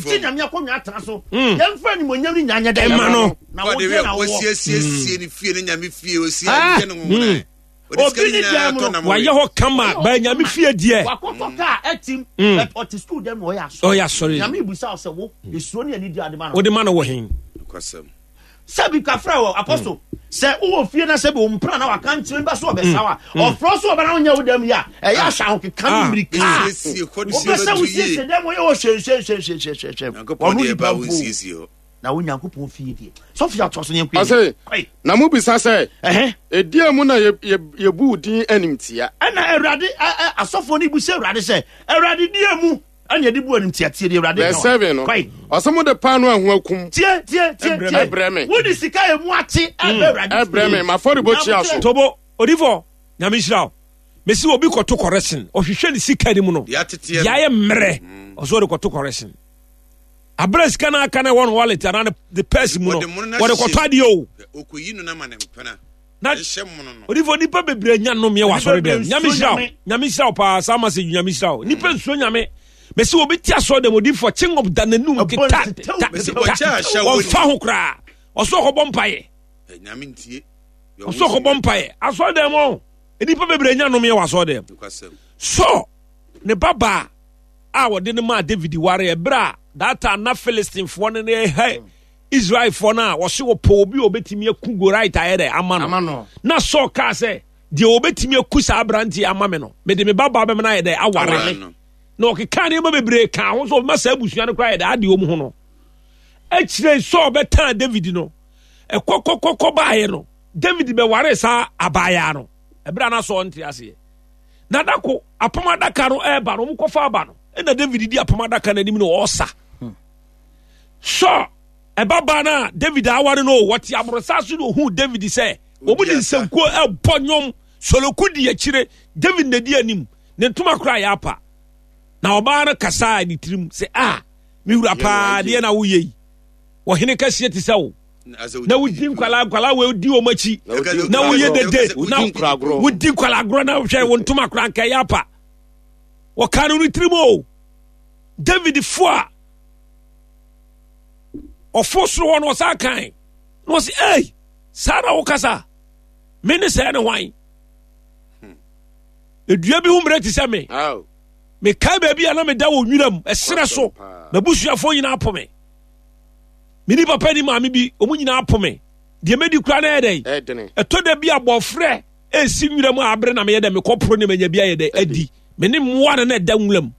Tete nyame akonnwa atena so. Yɛmfa animuonyam ne nyanya dɛ. Ɛma no. Na wo deɛ na wowɔ. Wɔsiesiesie ne fie ne nyame fie osi adeɛ no nwona. Obi ne dan mu no. Wayɛ hɔ kama bɛɛ nyame fie deɛ. Wakɔtɔ kaa ɛtim. But ɔte sukuu dɛm na ɔyɛ asɔre. Ɔyɛ asɔre. Nyame bisa wo sɛ wo esuro ne anidie ade ma no. Wode ma no wɔ hen? Sɛbi kafra wɔ apɔso. Sɛ wowɔ fie na sɛbi wo mpena na waka nkyerɛ ba so ɔbɛsa wa. Ɔfrɛ so ɔbɛna wonyɛ wo dɛm yi a ɛyɛ ahyɛ ahokeka ne mmirika. Wopɛ sɛ wosiesie dɛm wɔyɛ wɔ hwɛhwɛhwɛhwɛhwɛ. Wɔno nipa mpo. Na wo Nyankopɔn fie deɛ. Sɔfo yɛ atoa so ne yɛnkɔ Ɔse, yɛn. na mobisa sɛ, ɛdeɛn mu na yɛbu wo din animtia? Ɛna Awurade asɔfoɔ no bisa Awurade sɛ, Awurade deɛ mu ɛna yɛde bu animtia? Tie deɛ Awurade Verse 7 no, ɔse mode paanoo a ɛho akum Tie, tie, tie, tie. ɛbrɛ me. Wode sika a emu ate ɛbrɛ Awurade fie. Ɛbrɛ me, m'afɔrebukyia so. Tobo, odifo, Nyame nhyira wo. Mesi obi kɔto correction, ɔhwehwɛ ne sika no mu no, Deɛ ateteɛ deɛ ayɛ mmerɛ, ɔsɛ ɔde kɔto correction. Abere sika no aka no ɛwɔ no wallet anaa ne purse mu no, wɔde kɔtɔ adeɛ o. Okoyi no na ma ne mpena. Na odifo nipa bebree nya nnomeɛ wɔ asɔre dɛm. Nyame nhyira wo. Nyame nhyira wo paa saa message nyame nhyira wo. Nipa nsuo nyame. Mesi obi te asɔre dɛm odifo chingom da n'anum kita ta ta wɔmfa ho koraa. Ɔsɛ ɔkɔbɔ mpaeɛ. Ɔsɛ ɔkɔbɔ mpaeɛ. Asɔre dɛm o. Nipa bebree nya nnomeɛ wɔ asɔre dɛm. So ne babaa a wɔde no maa David ware ɛberɛ a that time na Philistinefoɔ no ne ɛha Israelfoɔ no a wɔse wɔpɛ obi a wɔbɛtumi aku Goliath ayɛ dɛ ama no na Saul kaa sɛ deɛ wɔbɛtumi aku saa aberanteɛ ama me no mede me babaa bɛma no ayɛ dɛ aware na ɔkeka nneɛma bebree kaa ho sɛ ɔbɛma saa abusua no koraa ayɛ dɛ adeɛ wɔn ho no akyire Saul bɛtaa David no ɛkɔkɔkɔkɔ baeɛ no David bɛware saa abaayaa no ɛberɛ a na Saul nte aseɛ na dako apam adaka no ɛreba no wɔkɔfa aba no ɛna David di apam adaka no anim na ɔresa Saul ɛbabaa no a David aware no wɔte aborosa so na ohuu David sɛ wɔn de nsankuo ɛbɔ nnwom soloku di akyire David na di anim ne ntoma koraa yɛ apa na ɔbaa no kasaa ne tirim sɛ a me wura paa deɛ na woyɛ yi ɔhene kɛseɛ te sɛ wo na wodi nkwalaa nkwalaa wei di wɔn akyi na woyɛ dede na wodi nkwalaa agorɔ na hwɛ wo ntoma koraa nka ɛyɛ apa wɔka no ne tirim o David fo a ɔfo soro hɔ no ɔsan kan na ɔsi ei saa na wokasa me ne sɛɛ ne hwan edua bi ho mmerɛ te sɛ me mekae baabi a na meda wɔ nwiram ɛserɛ so m'abusuafoɔ nyinaa po me me ni papa ni maame bi wɔn nyinaa po me deɛ mɛdi kura na ɛyɛ dɛn ɛtɔ da bi abɔfrɛ ɛsi nwura mu a abere na meyɛ dɛ mekɔ poro ne manya bi ayɛ dɛ adi me ne mmoa na na ɛda nwura mu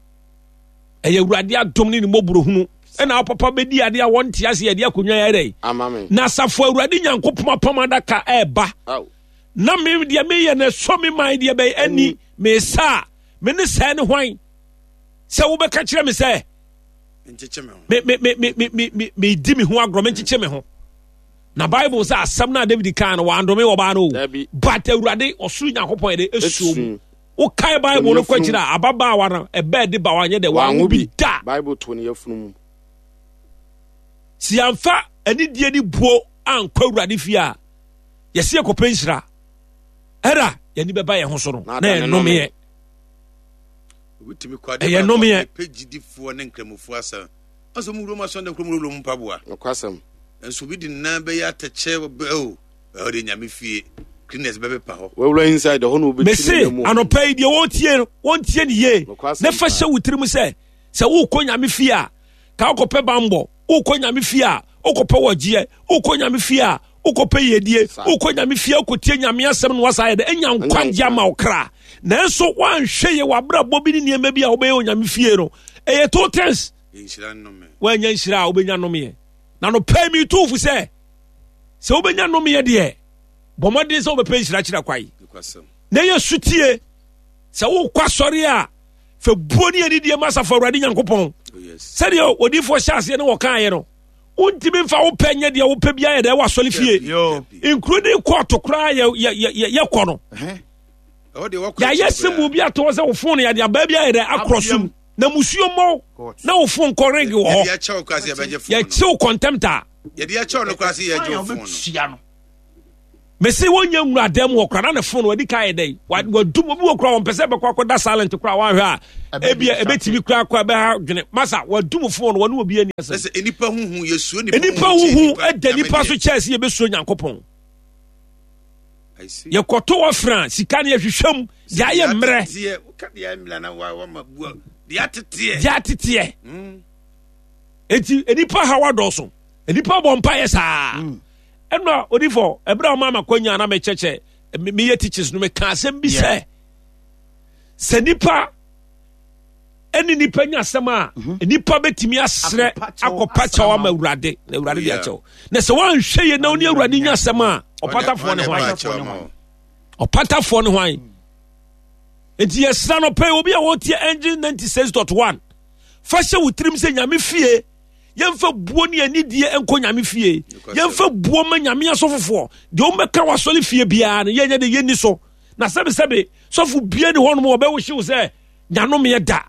ɛyɛ awurade adom ne ne mmɔborɔhunu ɛna apapa bɛdi adeɛ a wɔnte ase yɛde akonnwa yɛ dɛn na asafo awurade nyankopɔn apam adaka ɛɛba na me deɛ meyɛ no ɛsɔ me man deɛ bɛyɛ ani mesa a me ne sɛɛ ne hwan sɛ wobɛka kyerɛ me sɛ medi me ho agorɔ menkyekye me ho na bible sɛ asɛm no a david kaa no wandome wɔbaa no o but awurade ɔsoro nyankopɔn yɛde ɛsuo mu wokae bible no kɔ akyiri a ababaawa no ɛbɛɛ de ba wanyɛ dɛ wanwo bi da bible to ne yafunu mu si yɛmfa anidie ne buo ankɔ awurade fie a yɛsi yɛkɔpɛ nhyira ɛra yɛni bɛba yɛn ho so no na yɛnomeɛ ɛyɛ nomeɛ pɛ ne nkramofoɔ asa ɔsɛ mu wurom asɔn dɛ kurom wurom mpaboa nokwasɛm nso bi de nan bɛyɛ atɛkyɛ bɛ o ɛhɔ de nyame fie cleaners bɛpepa hɔ wawura inside hɔ na wobɛtwi mese anɔpa yi deɛ wɔtie no wɔntie ne yie na fa hyɛ wo tirim sɛ sɛ wokɔ nyame fie a ka wokɔpɛ bambɔ wokɔ nyame fie a wokɔpɛ wɔgyeɛ wokɔ nyame fie a wokɔpɛ yiedie wokɔ nyame fie wokɔtie nyame asɛm no wasa yɛ dɛ anya nkwagye ama wo kra nanso woanhwɛ yɛ w'abrabɔ bi ne nneɛma bi a wobɛyɛ wɔ nyame fie no ɛyɛ two things woanya nhyira a wobɛnya nomeɛ na no pɛ mi tu fo sɛ sɛ wobɛnya nomeɛ deɛ bɔ mmɔden sɛ wobɛpɛ nhyira kyerɛ kwae na yɛ sutie sɛ wokɔ asɔre a fɛ buo ne anidie ma asafo awurade nyankopɔn oh, sɛdeɛ odifoɔ hyɛ aseɛ ne wɔkaeɛ no wontumi mfa wo pɛ nyɛ deɛ wopɛ biara yɛ dɛ wɔ asɔre fie including kɔɔto koraa yɛkɔ no yɛayɛ sɛ mu obi ato hɔ sɛ wo fon yɛde abaa bi ayɛ dɛ akorɔ so mu na musuo mmɔ na wo fon kɔ ring wɔ hɔ yɛkyew contempt a yɛde akyɛw no koraa sɛ yɛgye wo fon no. Mese wɔnyɛ nwura dan mu hɔ koraa na ne phone wadi ka yɛ dɛn wadum obi wɔ koraa wɔn pɛ sɛ ɛbɛkɔ akɔda silent koraa wɔahwɛ a ebia ebetumi koraa kɔ ɛbɛha dwene masa wadum phone wɔne obi ani asɛm. Ɛsɛ nipa huhu yɛsuo nipa nipa huhu ɛda nipa so kyɛɛ sɛ yɛbɛsuo Nyankopɔn. Yɛkɔto wɔ fra sika no yɛhwehwɛ mu deɛ ayɛ mmerɛ deɛ ateteɛ eti nipa haw adɔɔso nipa bɔ mpa yɛ saa. Mm. Ɛnna odifo, ɛberɛ a ɔmaa m'akwanya na mekyɛkyɛ meyɛ teachers no meka asɛm bi sɛ sɛ nipa ɛne nipa nya asɛm a mhm. nipa bɛtumi asrɛ akɔpa kyɛw ama awurade na awurade de akyɛw na sɛ woanhwɛ yɛ na wo ne awurade nya asɛm a ɔpatafoɔ ne hwan ɔpatafoɔ ne hwan nti yɛsra no pɛ obi a wɔtie engine 96.1 fa hyɛ wo tirim sɛ nyame fie yɛmfa buo ne anidie nkɔ nyame fie yɛmfa buo ma nyame asɔfofoɔ deɛ wɔmbɛka wɔ asɔre fie biara no yɛnyɛ de yɛnni so na sɛbesɛbe sɔfo bie ne hɔnom wɔbɛwohyew sɛ nyanomeɛ da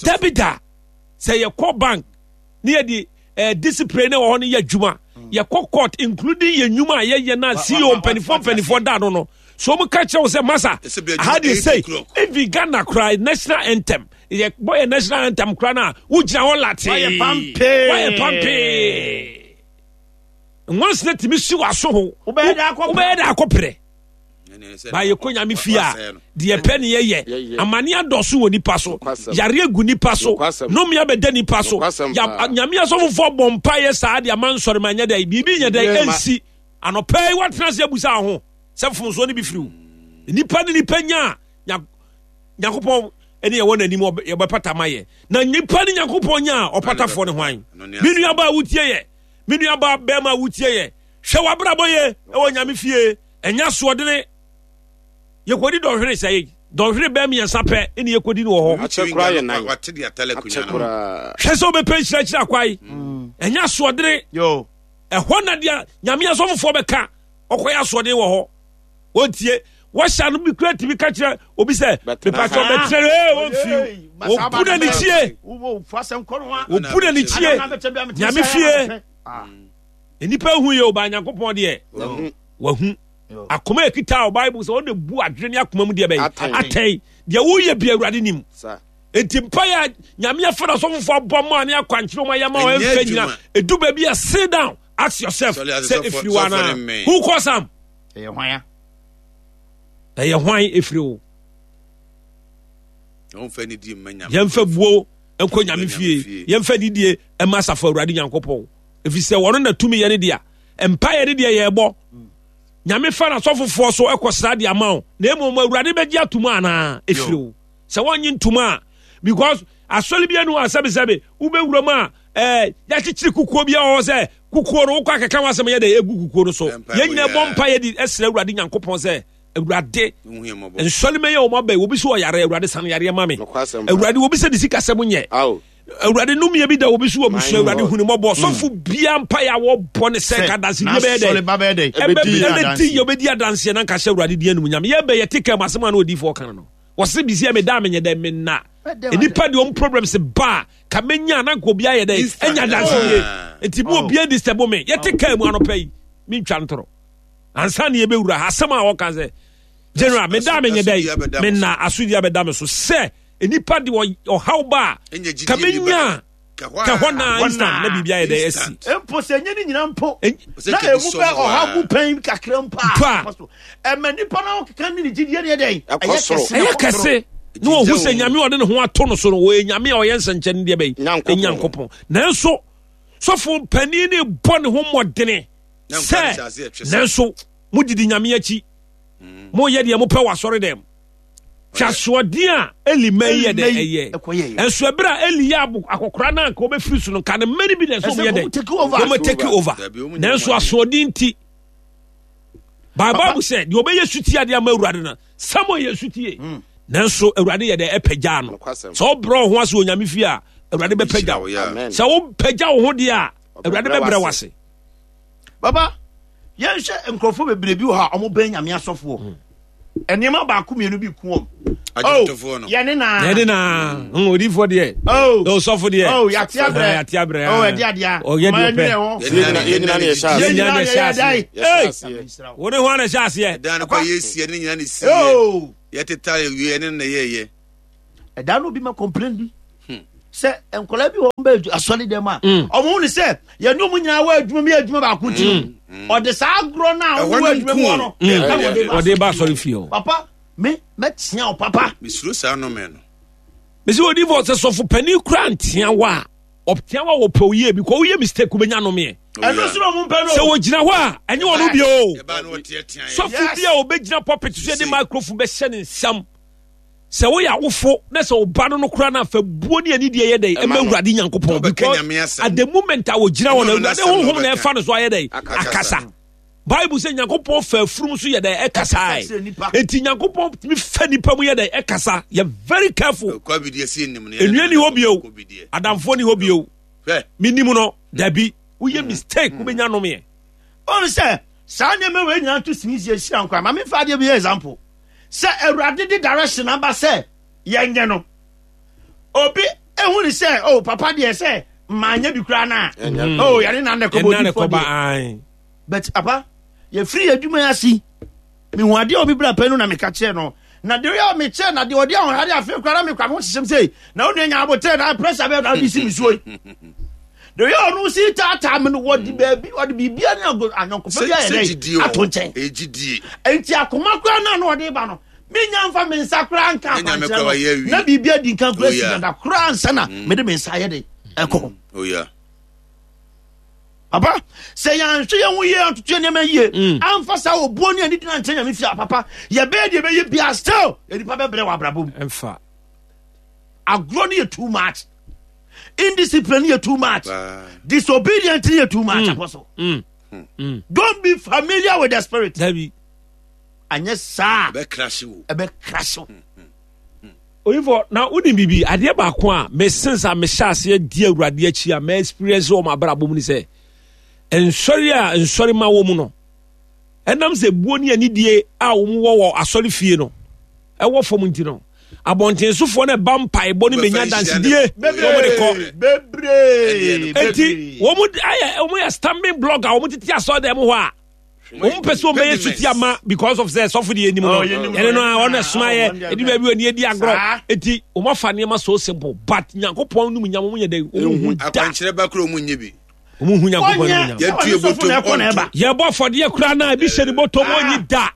dabi da sɛ yɛkɔ bank ne yɛde eh, discipline ne wɔ hɔ no yɛ adwuma mm. yɛkɔ court including yɛ nnwuma a yɛyɛ na ceo mpanimfoɔ mpanimfoɔ da no no so wɔn ka kyerɛ wo sɛ masa aha deɛ sei even ghana koraa national anthem yɛ bɔ yɛ national anthem koraa no a wogyina hɔ latee wayɛ pampee wayɛ pampee nwansena tumi si w'aso ho wobɛyɛ dɛ akɔprɛ ba yɛkɔ nyame fie a deɛ pɛ ne yɛyɛ amane adɔso wɔ nipa so yare agu nipa so nome abɛda nipa so nyame asɔfofoɔ bɔ mpaeɛ saa de ama nsɔre ma nyɛ dɛ biribi nyɛ dɛ ɛnsi anɔpɛ yi woatena ase abusa ho sɛ mfomsoɔ no bi firi wo nipa ne nipa nya a nyankopɔn ɛne ɛwɔ n'anim yɛbɛpata ma yɛ na nipa ne nyankopɔn nya a ɔpatafoɔ ne hwan me nuaba a wotie yɛ me nuaba bɛrima a wotie yɛ hwɛ w'abrabɔ yɛ ɛwɔ nyame fie ɛnyɛ asoɔdene yɛkɔdi dɔnhwere sɛ dɔnhwere bɛɛ mmiɛnsa pɛ ɛne yɛkɔdi no wɔ hɔ hwɛ sɛ wobɛpɛ nhyirakyiri akwae mm. ɛnyɛ asoɔdene ɛhɔ na deɛ nyame asɔfofoɔ bɛka ɔkɔyɛ asoɔden wɔ hɔ wɔntie wɔhyɛ no bi kura tumi ka kyerɛ obi sɛ mepatɔ bɛtena ee wɔmfi wɔbu na ne kyie wɔbu na ne kyie nyame fie ah. nnipa hu yɛ ɔbaa nyankopɔn deɛ wahu akoma ekita o bible sɛ ɔde bu adwene ne akoma mu deɛ bɛyɛ atɛn deɛ woyɛ bi awurade nim nti mpa yɛ nyame afa na sɔfofoɔ abɔ mu a ne akwankyerɛ mu ayɛ ma ɔmfɛ nyina ɛdu baabi a sit down ask yourself sɛ ɛfiri wo anaa who cause am ɛyɛ hwan a ɛyɛ hwan ɛfiri wo yɛmfa buo nkɔ nyame fie yɛmfa nidie ɛma asafo awurade nyankopɔn ɛfiri sɛ wɔno na tumi yɛ ne dea mpaeɛ ne deɛ yɛbɔ nyame fa n'asɔfofoɔ so ɛkɔ sra de ama wo na mmom awurade bɛgye atom anaa ɛfiri wo sɛ wɔnye ntom a because asɔre bi anu a sɛbesɛbe wobɛwura mu a ɛɛ yɛakyekyere kukuo bi a ɔwɔ sɛ kukuo no wokɔ akeka w'asɛm yɛ dɛ egu kukuo no so yɛn nyinaa bɔ mpa yɛ de ɛsrɛ awurade nyankopɔn sɛ awurade nsɔre mɛyɛ wɔn abɛn obi so ɔyare awurade san yareɛ ma me awurade obi sɛ de sika sɛm nyɛ awurade numia bi da obi so wɔ busua awurade hu ne mmɔbɔ mm. sɔfo bia mpa yɛ a wɔbɔ ne sɛ nka adansedie bɛyɛ dɛ ɛbɛdi yɛ obɛdi adanseɛ na nka hyɛ awurade di anum nyame yɛbɛ yɛte kɛ mu asɛm a na odiifoɔ ka no wɔse bisi yɛ meda menyɛ dɛ menna nnipa deɛ ɔm problems ba a ka menya na nka obi ayɛ dɛ ɛnya adansedie nti mu obi disturb me yɛte kaa mu anɔpa yi mentwa ntorɔ ansa ne yɛbɛwura ha asɛm a wɔka sɛ general meda menyɛ dɛ menna asodie abɛda me so sɛ nnipa de ɔhaw ba a ka menya ka hɔ na instant na biribi ayɛ dɛ asi mpo sɛ ɛnyɛ ne nyina mpo na ɛmu bɛ ɔhaw mu pɛn kakra mpo a ɛma nipa no keka ne ne gyidie ne ɛdɛn ɛyɛ kɛse na wɔhu sɛ nyame ɔde ne ho ato no so no wɔyɛ nyame a ɔyɛ nsɛnkyɛnne deɛ bɛyi nyankopɔn nanso sɔfo panin ne bɔ ne ho mmɔdene sɛ nanso modidi nyame akyi mm. moyɛ deɛ mopɛ wɔ asɔre dɛm hwɛ asoɔden a eli mma yi yɛ dɛ ɛyɛ ɛnso ɛberɛ a eli yɛ akɔkora no anka wɔbɛfiri so no nka ne mma no bi na ɛsɛ wɔyɛ dɛ wɔn take over nanso asoɔden nti bible sɛ deɛ ɔbɛyɛ sutie adeɛ ama awurade no samuel yɛ sutie hmm. nanso awurade yɛ dɛ ɛpɛgyaa no sɛ wobrɛ wo ho ase wɔ nyame fie a awurade bɛpɛgya wo sɛ wopɛgya wo ho deɛ a awurade bɛbrɛ wo ase baba yɛnhwɛ nkurɔfoɔ bebree bi wɔ hɔ a wɔbɛn nyame asɔfoɔ hmm. Nneɛma baako mmienu bi ku wɔn. Adwomtofoɔ no. Yɛne na. Yɛne na. Odiifoɔ deɛ. Oh. Osɔfo deɛ. Oh, yate abrɛ. Yate abrɛ. Oh, ɛde adeɛ. Ɔyɛ deɛ ɔpɛ. Yɛn nyinaa na yɛhyɛ aseɛ. Yɛn nyinaa na yɛhyɛ aseɛ. Ee. Wo ne hwan na ɛhyɛ aseɛ? Ɛdan no kɔ yɛ sie ne nyinaa na esi yɛ. Oh. Yɛtetare wie ne na yɛyɛ. Ɛdan no obi ma complain bi. Sɛ nkwadaa bi wɔ wɔn bɛ asɔre dɛm a. Wɔn hu ne sɛ yɛne wɔn nyinaa wɔ adwuma mu yɛ adwuma baako ti no. Ɔde saa agorɔ no a wɔn wɔ adwuma mu hɔ no. Ɔde ba asɔre fie hɔ. Papa me mɛtea wo papa. Mesuro saa nnome no. Mesi odi fɔ sɛ sɔfo panin kura ntea wa a ɔtea wa wɔ pɛ oyie bi kɔ woyɛ mistake wobɛnya nomeɛ. Ɛno so na ɔmo mpɛ no. Sɛ wɔgyina hɔ a ɛnyɛ wɔn bi o. Sɔfo bi a ɔbɛgyina pulpit so yɛde microphone bɛhyɛ ne nsam. Sɛ woyɛ awofo na sɛ ɔba no no kora no afa buo ne anidie yɛ dɛn ɛma Awurade Nyankopɔn because at the moment a wɔgyina hɔ no Awurade honhom na ɛfa no so ayɛ dɛn akasa. Bible sɛ Nyankopɔn fa afurum so yɛ dɛn ɛkasae. Enti Nyankopɔn tumi fa nipa mu yɛ dɛn ɛkasa. Yɛ very careful. Enua ni hɔ bio. Adamfoɔ ni hɔ bio. Menim no dabi. Woyɛ mistake wobɛnya nomeɛ. Ɔn sɛ saa nneɛma wei nyinaa to sini sie hyira nkwa. Ma memfa adeɛ bi yɛ example. Sɛ Awurade de direction aba sɛ yɛnyɛ no, obi ehu ne sɛ oh papa deɛ sɛ manyɛ bi koraa na oh yɛne na nnɛ kɔbɔ odifoɔ deɛ. But papa yɛfiri yɛ adwuma yi ase mehu adeɛ a obi bra pɛ no na meka kyerɛ no na deɛ ɔyɛ mekyerɛ na deɛ ɔde ahohare afei koraa na mekora me ho hyehyɛm sei na wo nua nya abotrɛ na pressure bɛɛ na wode si me suo yi deɛ ɔyɛ ɔno si taataa me no wɔde baabi wɔde biribia ne anyɔnkofa bi ayɛ dɛ ato nkyɛn nti akoma koraa na na ɔde ba no menya mfa me nsa koraa nka akwankyerɛ no na biribi adi nka koraa si dada koraa nsa na mede me nsa ayɛ de ɛkɔ oh, Papa, sɛ yɛanhwɛ yɛn ho yie antoto yɛn nneɛma yie, mm. amfa saa obuo ne anidi ankyɛ nyame fie a papa, yɛbɛyɛ deɛ ɛbɛyɛ bia still nipa bɛbrɛ wɔ abrabɔ mu. Ɛmfa. Agorɔ no yɛ too much. Indiscipline no yɛ too much. Disobedient no yɛ too much. Mm. Apostle. Mm. Mm. Don't be familiar with the spirit. Dabi. Anyɛ saa. Ɛbɛ crash wo. Ɛbɛ crash wo. Oyifo, na wonim biribi, adeɛ baako a me since a mehyɛ aseɛ di Awurade akyi a ma experience wɔ m'abrabɔ mu ne sɛ, nsɔre a nsɔre ma wɔ mu no, ɛnam sɛ buo ne anidie a wɔn wɔ wɔ asɔre fie no ɛwɔ fam nti no, abɔntensofoɔ no ɛba mpaebɔ no bɛnya dansedie na wɔn de kɔ. Bebree. Eti wɔn ayɛ wɔn yɛ stumbling block a wɔn tete asɔre dɛm hɔ a. wɔn pɛ sɛ wɔn bɛyɛ suti ama because of sɛ sɔfo deɛ anim no oh, ɛne no a wɔn ɛsoma yɛ ɛdi baabi wɔn ani adi agorɔ eti wɔn afa nneɛma so simple but nyankopɔn num nyam wɔn yɛ dɛ wɔn hu da akwankyerɛ ba kuro wɔn nye bi wɔn hu nyankopɔn num nyam yɛtu yɛ bɔtɔm ɔnto yɛbɔ afɔdeɛ koraa na ebi hyɛ ne bɔtɔm ɔnyi da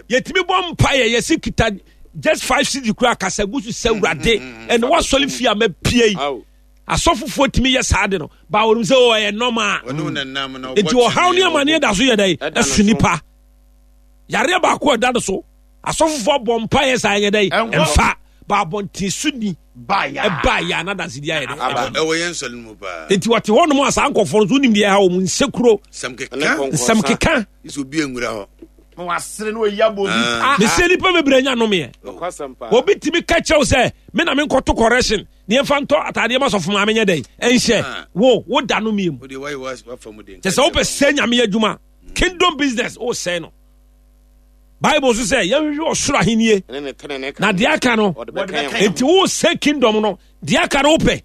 yɛtumi bɔ mpa yɛ yɛsi kita just five cedi koraa kasa gu so sɛ wurade ɛna wasɔre fie a mɛpie yi. Asɔfofoɔ tumi yɛ saa de no ba wɔn sɛ ɔyɛ oh, nɔma nti ɔhaw ne amaneɛ da so yɛ dɛ ɛso nipa yareɛ baako ɛda no so asɔfofoɔ bɔ mpa yɛ saa yɛ dɛ ɛmfa ba abɔnten so ni ɛba yɛ anadansi di ayɛ dɛ ɛwɔ yɛn nsɔre mu paa nti wɔte hɔ nom a saa nkɔfoɔ no so wonim deɛ ɛha wɔn nsekuro nsɛm keka obi nwura hɔ wasere no oyi abɔ obi ah. mesɛ nipa bebree nya nomeɛ obi tumi ka kyerɛw sɛ me na menkɔto correction ne yɛmfa ntɔ ataadeɛ ma sɔfo maame nyɛ dɛn ɛnhyɛ ah. wo wo da no mie mu kyɛ sɛ wopɛ sɛ nyame adwuma kingdom business wosɛe no bible so sɛ yɛhwehwɛ ɔsoro ahennie na deɛ aka no enti wosɛ kingdom no deɛ aka no wopɛ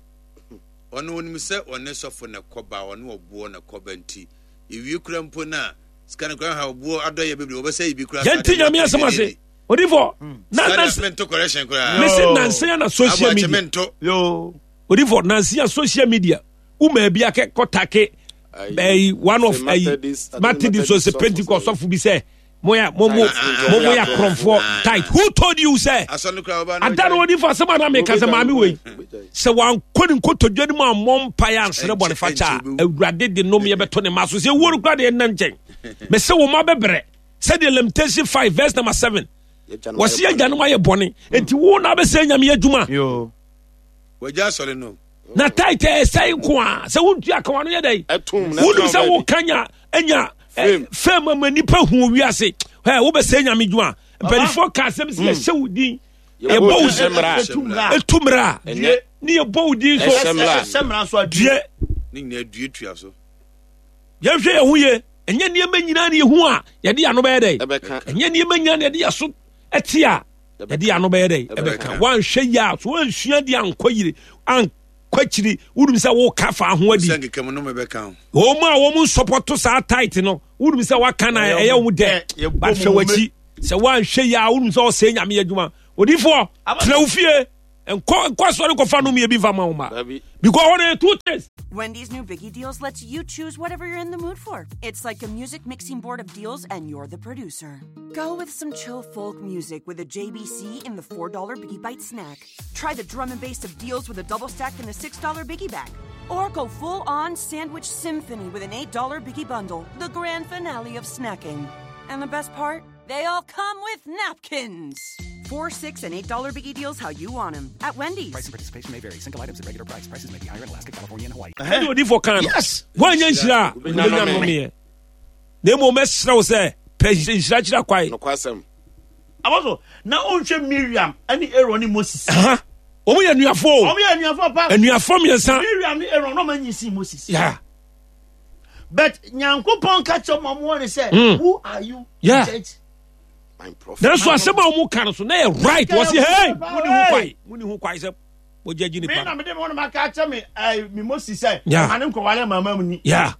ɔno onim sɛ ɔne sɔfo na kɔba ɔne ɔboɔ na kɔba nti ewie kura mpo no a sika no kura ha ɔboɔ adɔyɛ bebree wɔbɛsɛ yi bi kura yɛnti nyame asɛm ase odifo na na mese nansa ya na social media odifo nansa ya social media woma bi akɛ kɔtake ɛyi one of ɛyi Methodist o sɛ Pentecost sɔfo bi sɛ mo ya mo mo mo mo ya korɔmfoɔ tight who told you sɛ ada no odifo asɛm a na meka sɛ maame wei sɛ wankɔ ne nkotodwe no mu ammɔ mpaeɛ ansrɛ bɔne fakyɛ a awurade de nomeɛ bɛto ne ma so sɛ wuo no kora deɛ nna nkyɛn mese wo ma bɛbrɛ sɛdeɛ lamentation 5 verse number 7 wɔsi agyanom ayɛ bɔne enti wo na abɛsɛ nyame adwuma wagya asɔre no na taitɛ ɛsɛe nko a sɛ wontua kawa no yɛ dɛn wonim sɛ woka nya anya fam ama nnipa hu wiase wobɛsɛ nyame dwuma mpanimfoɔ ka asɛm sɛ yɛhyɛ wo din yɛbɔ wo ɛtu mmara ne yɛbɔ wo din so due yɛnhwɛ yɛn ho yie ɛnyɛ nneɛma nyinaa ne yɛhu a yɛde yɛn ano bɛyɛ dɛ ɛnyɛ nneɛma nyinaa ne yɛde yɛn so. ɛte a yɛde yɛn ano bɛyɛ dɛ ɛbɛka. Woanhwɛ yie a so woansua deɛ ankɔ yire ankɔ akyiri wonim sɛ woka fa ho adi. Wɔn a wɔn nsɔpɔto saa tight no wonim sɛ waka na ɛyɛ wɔn dɛ but hwɛ w'akyi sɛ woanhwɛ yie a wonim sɛ ɔsɛe nyame adwuma. Odiifoɔ tena wo fie nkɔ nkɔ asɔre nkɔfa nom yɛ bi nfa ma wo ma because hɔ no yɛ two things. Wendy's new Biggie Deals lets you choose whatever you're in the mood for. It's like a music mixing board of deals, and you're the producer. Go with some chill folk music with a JBC in the $4 Biggie Bite snack. Try the drum and bass of deals with a double stack in the $6 Biggie Bag. Or go full on sandwich symphony with an $8 Biggie Bundle, the grand finale of snacking. And the best part? They all come with napkins. $4, $6, and $8 Biggie Deals how you want them at Wendy's. Price and participation may vary. Single items at regular price. Prices may be higher in Alaska, California, and Hawaii. Ɛne odifoɔ kan no. Yes. Woanyɛ nhyira a, wobɛnya nnomeɛ. Na mmom mɛsrɛ wo sɛ, pɛ nhyira kyerɛ kwae. Nokwasɛm. Abɔso, na wonhwɛ Miriam ne Aaron ne Moses. Wɔn yɛ anuafoɔ o. Wɔn yɛ anuafoɔ pa. Anuafoɔ mmiɛnsa. Miriam ne Aaron na wɔn anyi si Moses. Yeah. But Nyankopɔn ka kyerɛ wɔn wɔn ne sɛ, who are you? Yeah. Judge. Nanso asɛm a wɔn ka no so na yɛ right. Wɔsi hey, mo ni ho kwae, mo ni ho kwae sɛ mo judge nipa. Mi na mi de mi wɔn ma ka kyerɛ mi ɛɛ mi Moses sɛ, Yeah. ɔma ne nkɔwale mama mu ni. Yeah.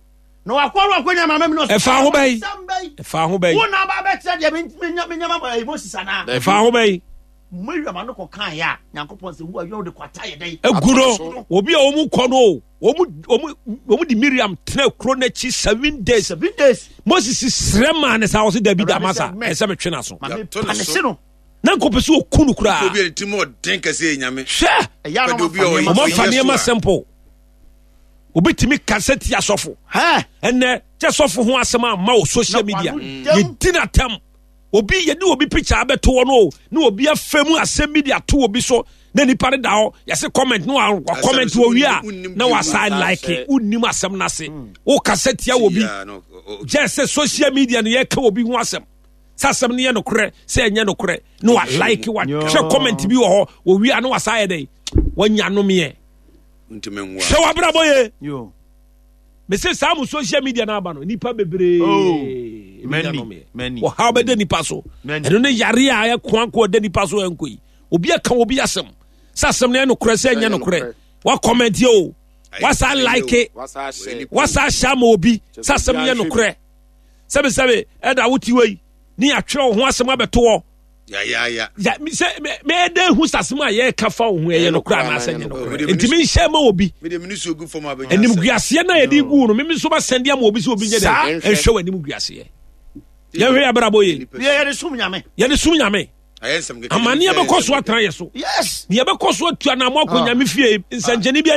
Na wakɔrɔ akɔnya mama mu ni. Ɛfa ho bɛyi. Asɛm bɛyi. Ɛfa ho bɛyi. Wo na aba bɛkyerɛ deɛ mi nya mi nya ma ɛɛ Moses anaa. Ɛfa ho bɛyi. Miriam ano kɔ kan yɛ a Nyankopɔn sɛ wo a yɛ ɔde kwata yɛ dɛ. Egu no obi a wɔn kɔ no o wɔn wɔn wɔn de Miriam tena kuro n'akyi 7 days. 7 days. Moses srɛ maa ne sa ɔsi dabi da masa ɛsɛ mi twe n'aso. Maame panisi no. Na nkɔpɛ sɛ ɔku no koraa. Obi a ne ti mu ɔden kɛse yɛ nyame. Hwɛ. Ɛyɛ anam Obi a ɔyɛ Ɔmo afa nneɛma simple. Obi tumi kasa tia sɔfo. Ɛnɛ kyɛ sɔfo ho asɛm ama wɔ social media. Yɛdi n'atam. Obi yɛde obi picture abɛto hɔ no na obi afa mu asɛm bi de ato obi so na nipa no da hɔ yɛse comment na wa comment wɔ wie a na wasa like wonnim asɛm no ase. Wokasa tia obi. Gyɛ sɛ social media no yɛka obi ho asɛm. Sɛ asɛm no yɛ nokorɛ sɛ ɛnyɛ nokorɛ na wa like wa hwɛ comment bi wɔ hɔ wɔ wie a na wasa ayɛ dɛn wanya nomeɛ. Hwɛ w'abrabɔ ye. Mese saa mo social media no aba no nipa bebree ɔhaw bɛda nipa so ɛno ne yare a ɛkoanko ɔda nipa so ɛnkɔ yi obi aka obi asɛm sɛ asɛm no yɛ nokorɛ sɛ ɛnyɛ nokorɛ wa comment o wasa like wasa ahyɛ ama obi sɛ asɛm no yɛ nokorɛ sɛbesɛbe ɛda wote wɔ yi ne yɛatwerɛ wo ho asɛm abɛto hɔ sɛ mɛyɛ hu sasɛm a yɛreka fa wo ho ɛyɛ nokorɛ anaasɛ nyɛ nokorɛ nti menhyɛ ma obi animguaseɛ no a yɛde gu no meme nso masɛnde ama obi sɛ obi nyɛ dɛ ɛnhwɛ w'anim guaseɛ yɛhwɛ yɛ abrabɔ ye yɛde som nyame yɛde som nyame amanneɛ bɛkɔ so atena yɛ so yes deɛ bɛkɔ so atu anamɔ akɔ nyame fie nsɛnkyɛnne bi.